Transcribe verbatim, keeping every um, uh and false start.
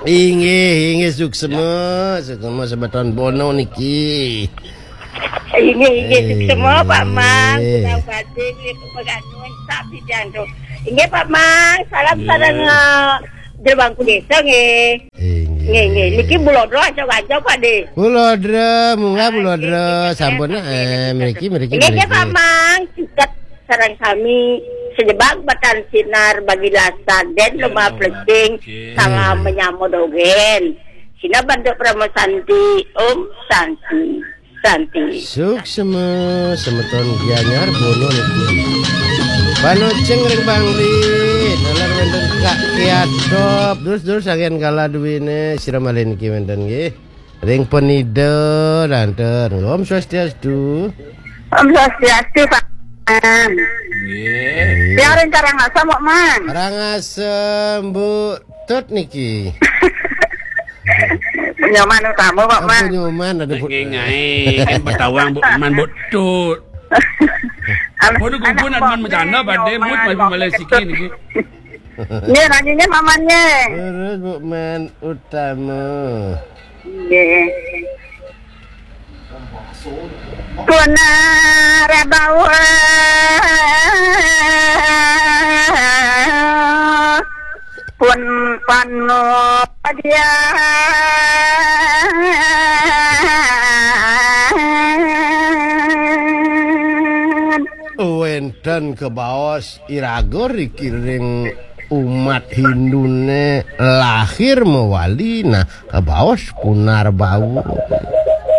Inggih, inggih, suksma, suksma semeton Bono niki. Inggih, inggih, suksma, Pak Mang. Inggih. Kula badhe niki peganun sami tiang tu. Inggih, Pak Mang, salam sareng, eh, Jero Bangku Desa nggih. Inggih. Nggih, nggih. Niki Bulodra aja-aja, Pak De. Bulodra, munggah Bulodra, sampun, eh, mriki, mriki, inggih, nggih, mriki. Pak Mang, ciket sareng sami sejebak batan sinar bagi lasan den lemah plecing, salam menyambut dogen. Sina bantu Parama Santi, Om Santi, Santi. Suksma semeton Gianyar Bono niki. Panoceng ring Bangli, nalar wenten Kak Kiatop, terus-terus agen kala duwine sira malih niki wenten nggih. Ring Penida, danten. Om Swastiastu. Om Swastiastu, Pak. Nggih. Tiang ring Karangasem, Pak Mang. Karangasem, Bu Tut niki. Nyoman utama, Pak Mang. Apa Nyoman ada Bu? Nggih, nggih. Kan Betawi, Bu Man, Bu Tut. Anak, bodoh kumpul anak anak bercanda, Pak De, Nyoman, Bu, masih Pak Malaysia Ketut niki. Nggih, nangingin mamanya. Terus Bu Man utama. Nggih. Pun, eh, rebawa. Pun panodian. Wenten kebaos iraga rikiring umat Hindune lahir mewali, nah, kebaos punar bau.